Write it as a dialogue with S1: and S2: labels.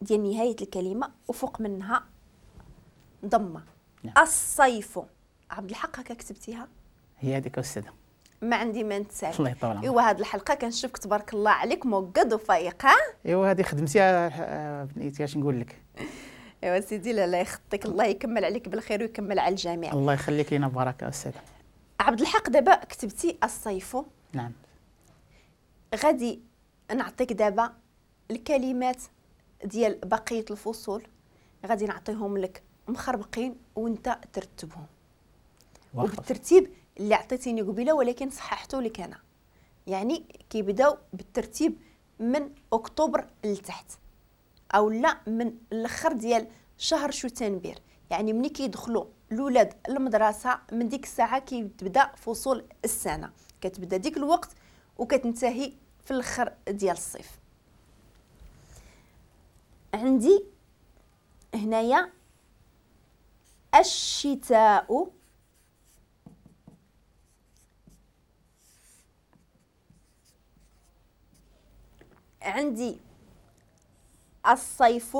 S1: ديال نهاية الكلمة وفوق منها ضمه.
S2: نعم.
S1: الصيف. عبد الحق هكا كتبتيها؟
S2: هي هذيك استاذه،
S1: ما عندي ما نتسال.
S2: الله يطول عمرك.
S1: ايوا هاد الحلقة كنشوفك تبارك الله عليك موقد وفايق. ها
S2: ايوا هذه خدمتيها بنيتي، اش نقول لك.
S1: ايوا سيدي لا يخطيك، الله يكمل عليك بالخير ويكمل على الجميع.
S2: الله يخليك لينا بركة استاذه.
S1: عبد الحق دابا كتبتي الصيف.
S2: نعم.
S1: غادي نعطيك دابا الكلمات ديال بقية الفصول، غادي نعطيهم لك مخربقين وانت ترتبهم وبالترتيب اللي عطيتيني قبيلة، ولكن صححته لك انا. يعني كيبداو بالترتيب من اكتوبر لتحت او لا من الاخر ديال شهر شتنبر. يعني ملي كيدخلوا الاولاد المدرسة من ديك الساعة كيبدا فصول السنة، كتبدا ديك الوقت وكتنتهي في الاخر ديال الصيف. عندي هنايا الشتاء، عندي الصيف،